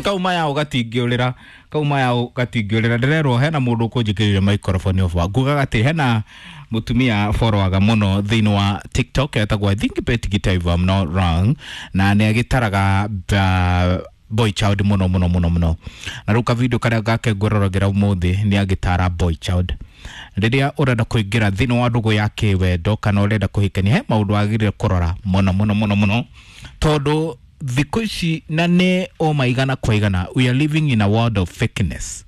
Kauma yao gatingĩũrĩra, kauma yao gatingĩũrĩra. Ndĩrerwo hena mũndũ ũkũnjĩkĩrĩire microphone off. Ngugaga atĩ hena mũtumia boroaga mũno thĩinĩ wa TikTok etagwo, I think, Betty Gita, if I'm not wrong, na nĩ agĩtaraga boy child mũno mũno mũno mũno. Na rĩu kavideo karĩa gake ngwĩroragĩra ũmũthĩ nĩ agĩtara boy child rĩrĩa ũrenda kũingĩra thĩinĩ wa ndũgũ ya kĩwendo kana ũrenda kũhikania, he maũndũ wagĩrĩire kũrora mũno mũno mũno mũno, tondũ thikũ ici na nĩ o maigana kwa igana, we are living in a world of fakeness.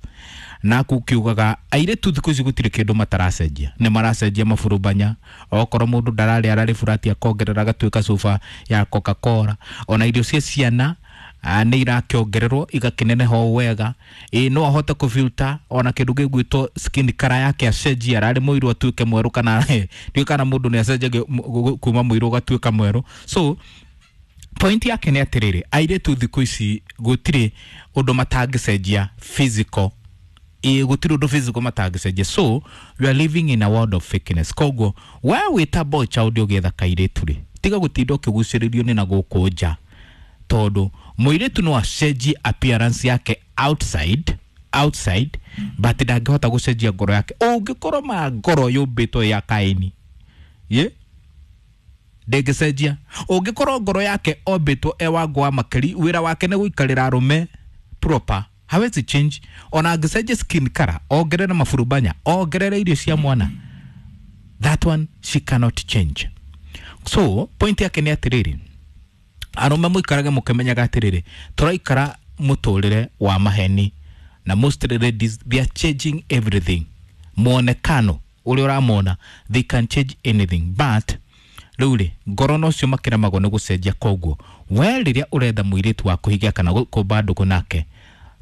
Na kukiugaga airĩtu thikũ ici gũtirĩ kĩndũ mataracenjia, nĩ maracenjia maburubanya. Okorwo mũndũ ndararĩ ararĩ burati, akongerera agatuĩka cuba ya Coca Cola. Ona irio cia ciana nĩ irakĩongererwo igakĩneneha o wega. Ĩ no ahote kũfilter ona kĩndũ gĩgwĩtwo skin color yake, acenjie, ararĩ mũirũ atuĩke mwerũ, kana ndiũĩ kana mũndũ nĩ acenjagia kuma mũirũ ũgatuĩka mwerũ. So point yake nĩ atĩrĩrĩ, airĩtu thikũ ici gũtirĩ ũndũ matangĩcenjia physical. Ĩ gũtirĩ ũndũ physical matangĩcenjia. So we are living in a world of fakeness. Koguo we wĩta boy child ũgĩetha kairĩtu rĩ, tiga gũtinda ũkĩgucĩrĩrio nĩ na gũkũ nja, tondũ mũirĩtu no acenjie appearance yake outside, but ndangĩhota gũcenjia ngoro yake. Ũngĩkorwo ma ngoro yũmbĩtwo ya Kaini ye ndĩngĩcenjia. Ũngĩkorwo ngoro yake ombĩtwo e wangu wa makeri, wĩra wake nĩ gũikarĩra arũme proper, hawezi change. Ona angĩcenjia skin color, ongerere maburubanya, ongerere irio cia mwana, that one she cannot change. So point yake nĩ atĩrĩrĩ, arũme mũikarage mũkĩmenyaga atĩrĩrĩ, tũraikara mũtũrĩre wa maheni, na most ladies, they are changing everything. Mwonekano ũrĩa ũramona, they can change anything, but rĩu rĩ, ngoro nocio makĩremagwo nĩ gũcenjia. Koguo we rĩrĩa ũretha mũirĩtu wa kũhikia kana kũmba ndũgũ nake,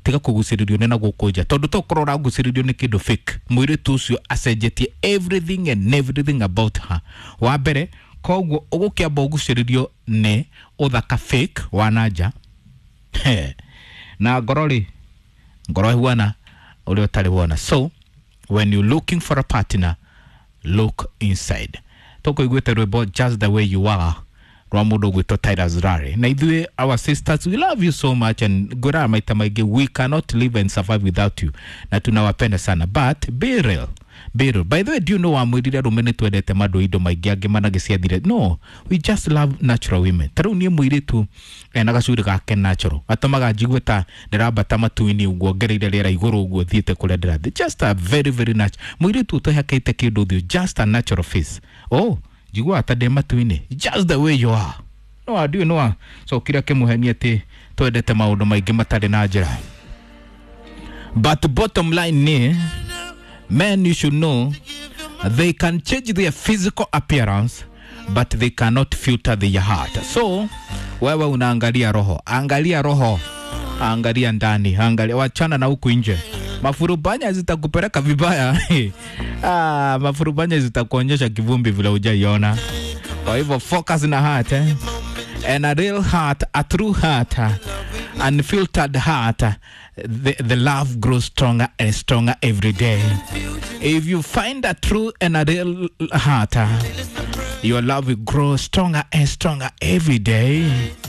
tiga kũgucĩrĩrio nĩ na gũkũ nja, tondũ tokorwo ũragucĩrĩrio nĩ kĩndũ fake. Mũirĩtu ũcio acenjetie everything and everything about her wa mbere. Koguo ũgũkĩamba ũgucĩrĩrio nĩ ũthaka fake wa nanja. Na ngoro rĩ, ngoro ĩhuana ũrĩa ũtarĩ wona. So when you looking for a partner, look inside. Tũkũiguĩte rwĩmbo "Just the Way You Are" rwa mũndũ ũgwĩtwo Tyler Rari. Na ithuĩ, our sisters, we love you so much, and ngwĩraga maita maingĩ, we cannot live and survive without you, na tunawapenda sana, but be real, be real. By the way, do you know wamwĩrire arũme nĩ twendete mandũ indo maingĩ angĩ managĩciathire? No, we just love natural women. Ta rĩu niĩ mũirĩtu ena gacuri gake natural atũmaga njigue ta ndĩrambata matu-inĩ ũguo, ngereire rĩera igũrũ ũguo, thiĩte kũrĩa ndĩrathiĩ. Just a very very natural mũirĩtu ũtehakĩte kĩndũ ũthiũ, just a natural face. Oh, njiguaga ta ndĩ matu-inĩ. Just the way you are. No andiũ no acokire akĩmũhenia atĩ twendete maũndũ maingĩ matarĩ na njĩra. But bottom line ni, men, you should know they can change their physical appearance, but they cannot filter their heart. So wewe unaangalia roho, angalia roho, angalia ndani, angalia, wachana na huku nje. Mafurubanya zitakupeleka vibaya. Ah, mafurubanya zitakuonyesha kivumbi vile hujaiona. Kwa hivyo focus na heart, eh? And a real heart, a true heart, unfiltered heart, the love grows stronger and stronger every day. If you find a true and a real heart, your love will grow stronger and stronger every day.